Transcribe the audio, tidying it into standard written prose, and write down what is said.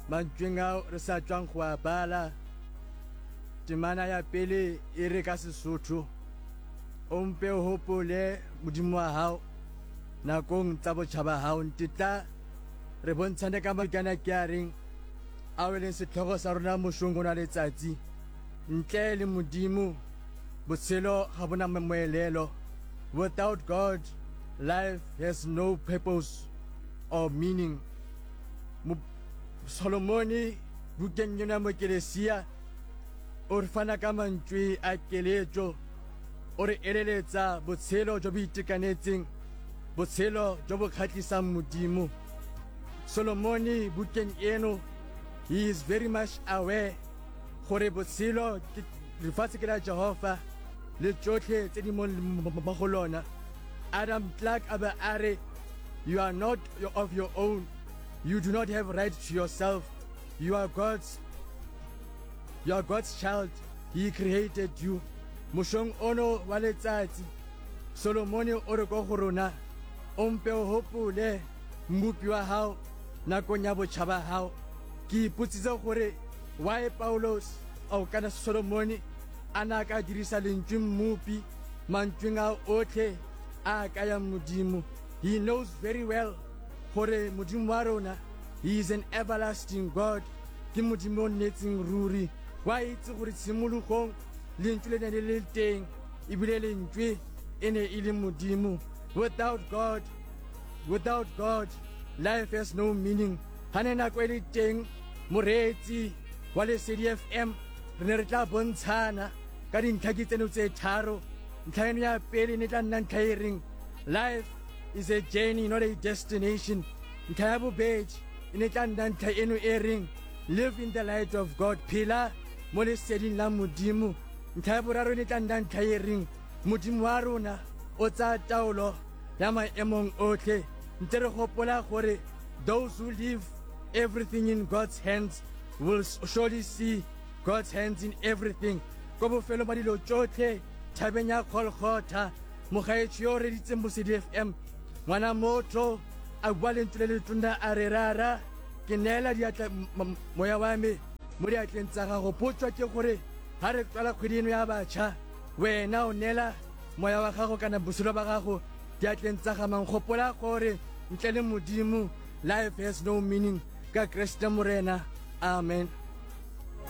Mantšweng ao re sa tšwang go a bala, temana ya pele e re ka Sesotho, O mpe o hopole Modimo wa hao nakong tsa botjha ba hao. Ntetla re bontshane ka maikana ke a reng ao e leng setlhogo sa rona mošong ona letsatsi. Ntle le Modimo, botshelo ga bo na moelelo. Without God, life has no purpose or meaning. Solomone bukeng eno ya Mokelesia o re fana ka mantšwe a keletšo, o re eleletsa botshelo jo bo itekanetseng, botshelo jo bo kgatlhisang Modimo. Solomone bukeng eno, he is very much aware gore botshelo ke lefatshe ke la Jehofa le tšotlhe tse di mo go lona. Adam Clarke a be a re, You are not of your own, you do not have right to yourself, you are God's, you are God's child, he created you. Mošong ono wa letsatsi, Solomone o re ko go rona, O mpe o hopole Mmopi wa hao nakong ya botjha ba hao. Ke ipotsitse gore why Paulos ao kana Solomone a na ka dirisa lentšwe Mmopi mantšweng a otlhe a a kayang Modimo. He knows very well gore Modimo wa rona, He is an everlasting God, ke Modimo o nnetseng ruri. Wa itse gore tshimologong lentšwe le ne le le teng, ebile lentšwe e ne e le Modimo. Without God, without God, life has no meaning. Ga ne nako e le teng, moreetsi wa Lesedi FM, re ne re tla bontshana ka dintlha ke tseno tse tharo. Ntlha eno ya pele ne tla nna ntlha e reng life is a journey not a destination. Ntlha ya bobedi e ne tla nna ntlha eno e reng live in the light of God, phela mo leseding la Modimo. Ntlha ya boraro e ne tla nna ntlha e reng Modimo wa rona o tsaya taolo ya maemong otlhe. Ntse re gopola gore those who leave everything in God's hands will surely see God's hands in everything. Ko bofelong ba dilo tšotlhe thabeng ya Golgotha, mogaetšho yo o reditseng Bosedi FM, ngwana motho a bua lentswe le letona a re, Rara, ke neela diatla moya wa me mo diatleng tsa gago. Potso ke gore ga re qala kgwedi eno ya batjha, wena o neela moya wa gago kana botshelo ba gago diatleng tsa ga mang? Gopola gore ntle le Modimo, life has no meaning. Ka Kriste Morena. Amen.